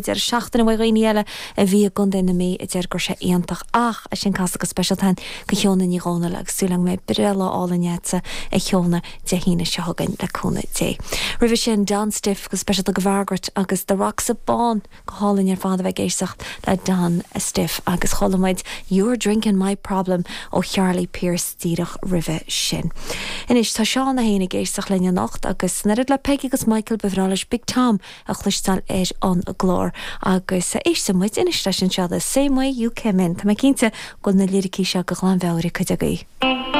Deireadh seachtaine uaidh dhaoine eile a bhí i gContae na Mí a deir go raibh sé iontach ach é sin casadh go speisialta againn go Shióna Ní Dhomhnaill agus súil agam go mbeidh breithlá álainn agatsa a Shióna Dé hAoine seo chugainn le cúnamh Dé. Roimhe sin Don Stiffe go speisialta go Mhargaret agus The Roxy Bán go hálainn ar fad a bheith ag éisteacht le Don Stiffe agus chuala muid You're Drinking My Problem ó Charlie Pierce díreach roimhe sin. Anois tá Seán é féin ag éisteacht linn anocht agus an oiread le Peggy agus Michael ba bhreá leis Big Tom a chloisteáil ar an gclár agus éisteann muid anois leis anseo The Same Way You Came In. Tá mé cinnte go bhfuil na liricí seo de ghlanmheabhair ag cuid agaibh.